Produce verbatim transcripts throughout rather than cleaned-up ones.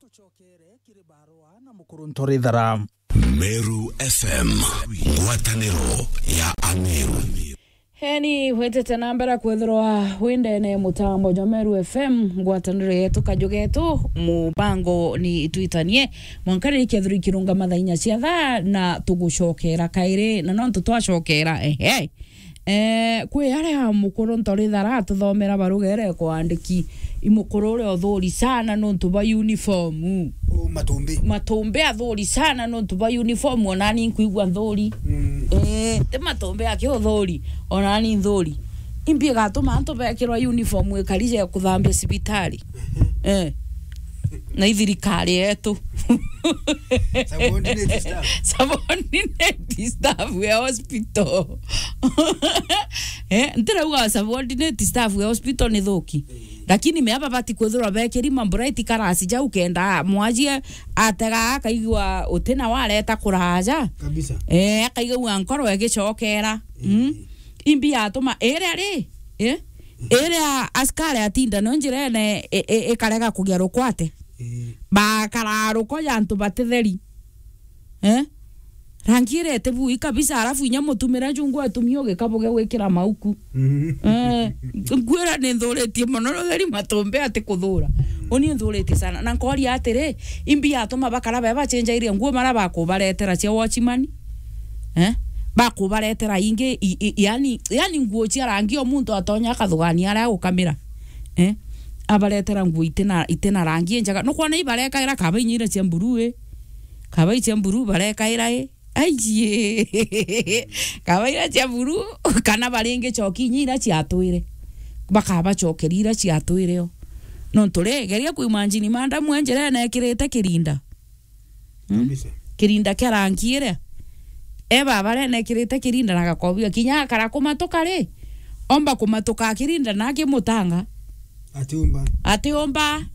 Tucokere kiri barua na Mukuru Ntorithara. Meru F M, ngwataniro ya Ameru. Heni wetete na mbere kwethirwa windene mutambo jwa Meru F M, ngwataniro yetu, kaju getu, mubango ni Itwitanie. Mwanka riri kethirwa ikirunga mathaa inya cia thaa, na tugucokera kairi, na nontu twacokera, ehe. Eh, kwi aria Mukuru Ntorithara atuthomera baruga iria ikwandiki, i Mukuru uria uthuri sana nontu bwa uniform. U, Matumbi. Matumbi athuri sana nontu bwa uniform, onani nkwigua nthuri. Mm. Eh, ti Matumbi aki uthuri, onani nthuri. Imbi igatuma antu bekirwa uniform ikari ja kuthambia cibitari. Eh. Na i thirikari yetu. Subordinate staff. Subordinate staff ya hospital. Eh, ntirauga subordinate staff ya hospital ni thuki. Eh. Lakini me aba bati kwithirwa bekiri ma bright colors jau kenda mwajie atega akaigua utina wareta kuraja. Kabisa. Eh, akaigua nkoro igicokera. Mm. Eh. Imbi yatuma iria ri, eh? Iria askari atinda no njirene i-, i-, ikarega kugia rukwate. Eh. Bakara ruko ya antu batitheri. Eh? Rangi iria iti bui kabisa, alafu inya mutumira njungu atumia ugikabuge gwikira mauku. Mm. Eh, ngwira ni nthuritie mono rutheri Matumbi ati kuthura. Uni nthuritie sana. Na nkoria atiri, imbi yatuma bakara be bachenjairie nguo mara bakubaretera cia watchman? Eh? Bakubaretera ingi, i, i, yani, yani nguo cia rangi o muntu atonya akathugania aria agukamira. Eh? Abaretera nguo itina, itina rangi injega. Nukwona ibarekaira kaba inya iria cia mburu i. Kaba icia mburu barekaira i. Aijie. Kaba iria cia mburu, kana baringi coki inya iria ciatwire. Bakabacokeria iria ciatwire o. Nontu ri, geria kuimagine madam e njirene ekirite kirinda. Hmm? Kabisa. Kirinda kia rangi iria. E baba rene ekirite kirinda na gakobia. Kinya akara kumatuka ri, omba kumatuka akirinda na akimutanga. Atiumba. Atiumba.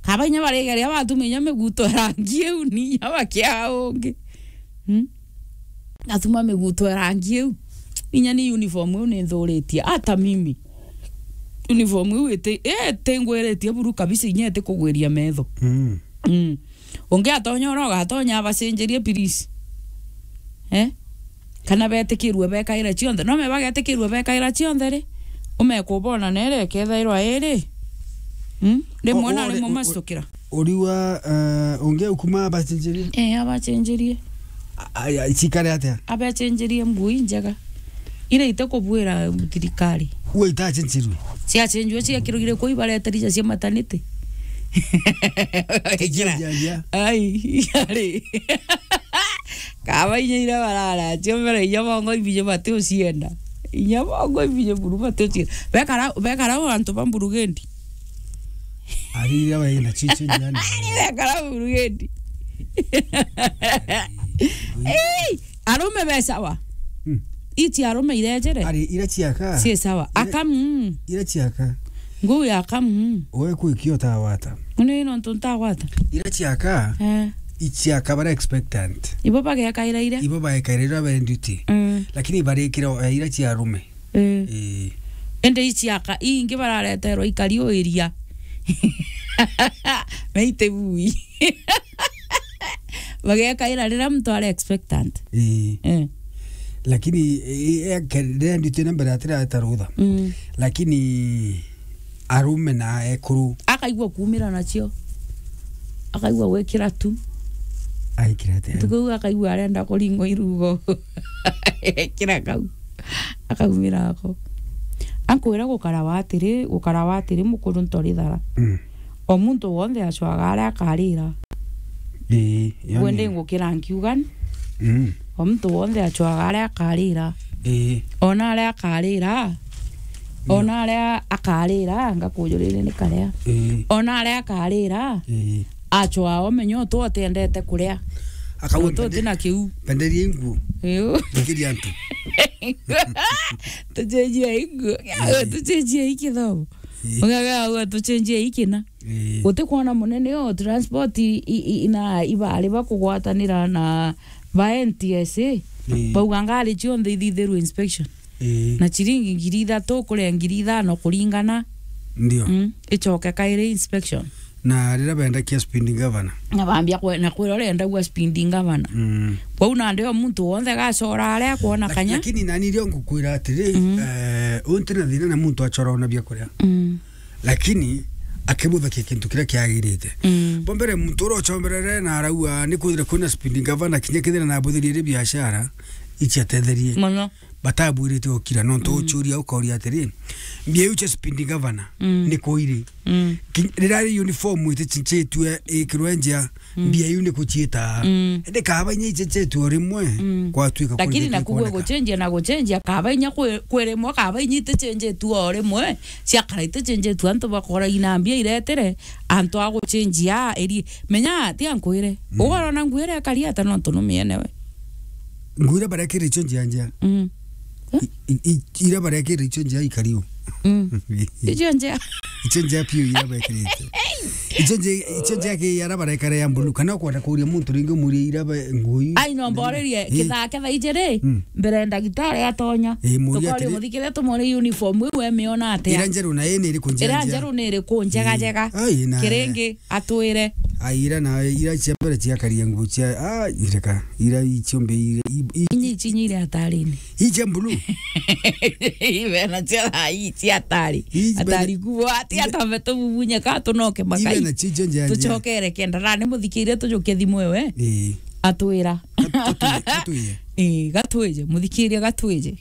Kaba inya barigeria batuma inya miguto ya rangi iu ni inya bakia ungi. Hmm? Atuma miguto ya rangi iu. Inya ni uniform iu ni nthuritie. Ata mimi. Uniform iu iti, iti ngwiritie buru kabisa, inya iti kugwiria metho. Mm. Mm. Ungi atonya uria ugatonya abacenjerie, please. Eh? Kana betikirue bekaira cionthe. No me bagetikirue bekaira cionthe ri? Umekubona nere kethairwa iri. Mm? Rimwe O-, na ore-, rimwe o-, o-, macitukira. Uriwa, eh, ungi ukuma abacenjerie? Eh, abacenjerie. A-, a-, cikare atia? Abecenjerie nguo injega. Iria itakubwira thirikari. Uo itacenjirwe? Ciacenjirwe, ciakirugire kuu ibareterija cia maternity. Ijia, ijia. Ai, ari. Kaba inya iria barara, cio mbere inya bongo ibije bati ucienda. Inya bongo ibije buru bati ucienda. Bekara, bekara o antu ba Mburugendi. Ari iria baina chichi njani. Ari bekara Mburugendi. Ei! Arume be sawa. Hmm. Ichi arume irejere. Ari ira ciaka. Si sawa. Ira, akamu. Ira ciaka. Nguu ya akamu. Oe kuikio tawata. Ni nontu ntagwata. Ira ciaka. Eh. Ichiaka bara expectant. Ibo bagekaira ira. Ibo bagekaira ira be duty. Mm. Lakini barikira, eh, ira cia arume. Eh. Eh. Ende ichiaka ingi barareterwa ikari o iria. Meite bui. Bagekaira riria muntu ari expectant. Ii. Eh. Lakini, eh, eh, ke-, riria nditwire mbere atireta rutha. Mm. Lakini arume na ekuru. Akaigua kuumira nacio. Akaigua gwikira tu. Aikira atia? Ntuku iu akaigua arenda kuringwa irugo. Ekira kau. Akaumira ako. Ankwira gukara wa atiri, gukara wa atiri mukuru ntori thara. Mm. O muntu wonthe acwaga aria akarira. Ii, yani. Gwe ndi ngukira nkiuga ni? Mm. O muntu wonthe acwaga aria akarira. Ii. Ona aria akarira. Ona aria akarira, ngakujurire ni karia. Ii. Ona aria akarira, ii, acwaa omenya utu utiendete kuria. Akauga utu uti na kiu. Penderia inguo. Iu. Thikiria antu. Tucenjie inguo. Ii. Tucenjie ikithomo. Ii. Ugaga uga tucenjie ikina. Ii. Utikwona munene o transport i, i, i, na ibari bakugwatanira na ba N T S A. Ii. Bauga ngari cionthe ithithirwe inspection. Ii. Na chiringi ngiri ithatu kuria ngiri ithano kuringana. Ndio. Mm, icoke kairi inspection. Na riria bendakia speed governor. Na bambia kwe-, na kwira urenda gwa speed governor. Mm. Kwou nandi o muntu wonthe gacora aria akwona Lak-, kanya. Lakini nani rio ngukwira atiri, Mm. eh, unti na thina na muntu achora ona bia kuria. Mm. Lakini akibuthakia kintu kiria kiagirite. Mm. Bo mbere muntu uria uchomberere na arauga ni kwithire kwina speed governor kinya kithira na abuthirie ri biashara, ichi atetherie. Mono. Batabwirite gukira, nontu Mm. uchuria ukoria atiri, mbia iu cia speed governor Mm. ni kuiri? Mm. Ki-, riria ri uniform itichitue ikirwe njia, Mm. mbia iu ni kuchiita. Mm. Indi kaba inya ichichitue o rimwe, Mm. kwatuika Lakini kuritite naku gwe kuoneka. Guchenjia na guchenjia, kaba inya kwi-, kwi rimwe, kaba inya itichenjitue o rimwe, ciakara itichenjitue, antu bakora ina mbia iretire, antu a guchenjia, eri, menya, tia nkwire. Mm. Ugorona nguo iria ikari ata nontu numiene we. Nguo iria barekire icio njia njia. Mm. I, i, i, iria barekire icio njia ikari u. Mm. Icio njia. Icio njia piu iria bekirite. Icio njia, icio njia ki iria barekare ya blue. Kana ukwenda kuria muntu ringi umurie iria be-, nguo i-, Ai, no mborerie, Eh. Kithake thaa ijiri, Mm. mbere ndagitari atonya. Eh, muria Tukori atiri- muthikire tumuri uniform iu emiona atia? Ira njeru na ii ni iriku njia Ira njia? Njeru ni iriku njega Eh. Njega? Ai, na Kiringi, atwire. Ai, ira na ira cia mbere ciakaria nguo cia, ah, ireka. Ira icio mbe ira, i, i, Inyi ici inyi iri atarini. Icia blue. Ibe na cia thaa ii cia atari. Ibe na- Atari kuo, ati ibe- atambe tububunya ka tunoke makai. Ibe na chicho njia njia. Tuchokere kenda. Ra ni muthikirie tujukie thimu ewe. Eh. Atwira. Gat-, gatwi-, gatwiye. Eh, gatwije. Muthikirie gatwije.